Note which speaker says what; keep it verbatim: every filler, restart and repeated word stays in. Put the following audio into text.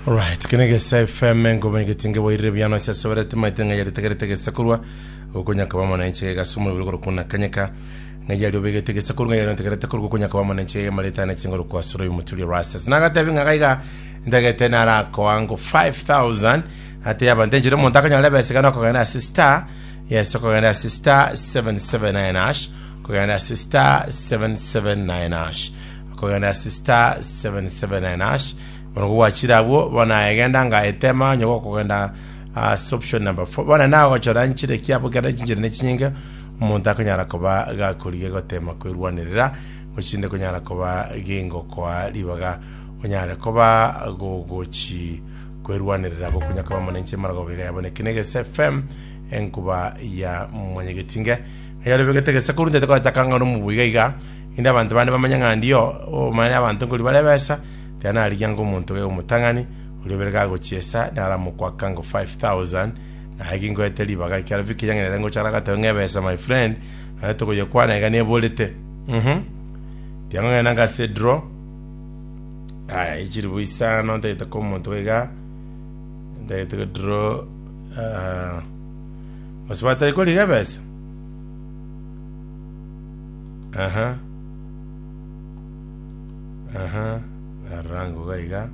Speaker 1: Alright, kene gesa F M ngoma egetinge boirire biano ase soberete maite ng'a yaritegerete gesa korwa gokonyaka ba mwananchi gasa omobere korokuna kanyeka ng'a yari obegete gesa korwa ng'a yaritegerete korwa gokonyaka ba mwananchi mareta na chingoro kwa soro yomuturi rastas nagatebi ng'a gaiga ndagete narakoango five thousand ate abantu enchire omonto akanyora ebesa gana okogenda ase star, yes, okogenda ase star seven seven nine hash, okogenda ase star seven seven nine hash, okogenda ase star seven seven nine hash. Bono gwachire abwo, bono egenda nga etema onye gokogenda ase option number four. Bono nagochora nchire kiabo kera chinchire ne chinyinge omonto akonyara koba gakorigia gotema kwerwanerera gochinde konyara koba gingokoa ribaga onyare koba gogochi kwerwanerera gokonya koba monenche maragoba iga yabone kinegese F M enkuba ya mwanyegetinge yarebegete gese korunte kochaka ng'a nomubuiga iga inde abantu bande bamanye ng'a ndio omanye abantu nkori bare besa tiga narigia ngo omonto ge omotang'ani oria obere gagochiesa naramokwaka ngo five thousand naye gingoete ribaga ekiara Viki yang'erere ngochara gatebe ng'ebesa my friend naye togoyekwana iga neborete mhm tiga ng'ogenda ngase draw. Aya echiribu isano ntagete ko omonto iga ntagete ko draw uh, mosibatari koriga ebesa. Aha aha narango iga iga